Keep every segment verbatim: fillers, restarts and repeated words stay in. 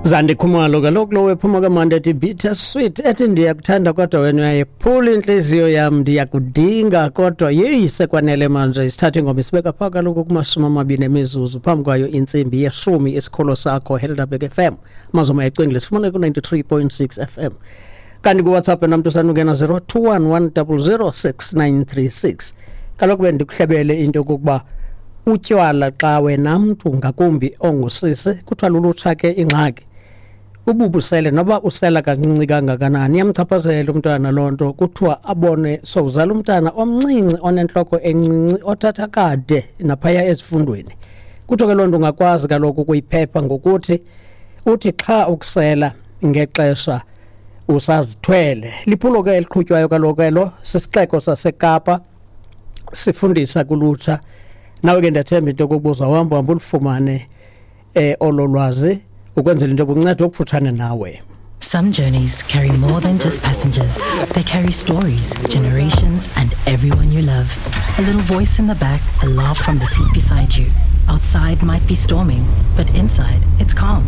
Zandi Khumalo kaloku lo wephuma kamandi ethi bitter sweet, ethi ndiyakuthanda kodwa wena uyayiphula intliziyo yam, ndiyakudinga kodwa yeyi sekwanele manje. Isithatha ingoma isibeka phaa kaloku kumashumi amabini emizuzu phambi kwayo intsimbi yeshumi. Isikolo sakho Helderberg F M mazoma ecingile sifumane ku-ninety-three point six F M, kanti kuWhatsApp namntu sanungena zero two one one double zero six nine three six. Kaloku bendikuhlebele into yokokuba utywala xa wena mntu ngakumbi ongusisi kuthiwa lulutsha ke ingxaki ububusele noba usela kancinci kangakanani iyamchaphazela umntwana loo nto. Kuthiwa abone sowuzala umntana omncinci onentloko encinci othatha kade naphaya ezifundweni. Kuthiwa ke loo nto ungakwazi kaloku ukuyiphepha ngokuthi uthi xa ukusela ngexesha usazithwele. Liphulo ke eliqhutywayo kaloku elo sisixeko saseKapa sifundisa kulutsha. Nawe ke ndiyathemba into yokokuba uhamba uhamba ulufumane eh olo lwazi ukwenzela into yokunceda okufutshane nawe. Some journeys carry more than just passengers. They carry stories, generations, and everyone you love. A little voice in the back, a laugh from the seat beside you. Outside might be storming, but inside it's calm.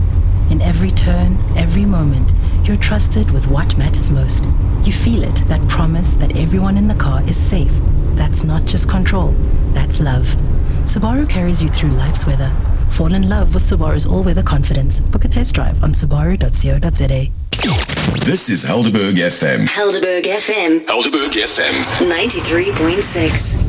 In every turn, every moment, you're trusted with what matters most. You feel it, that promise that everyone in the car is safe. That's not just control, that's love. Subaru carries you through life's weather. Fall in love with Subaru's all-weather confidence. Book a test drive on subaru dot co dot za. This is Helderberg F M. Helderberg F M. Helderberg F M. ninety-three point six.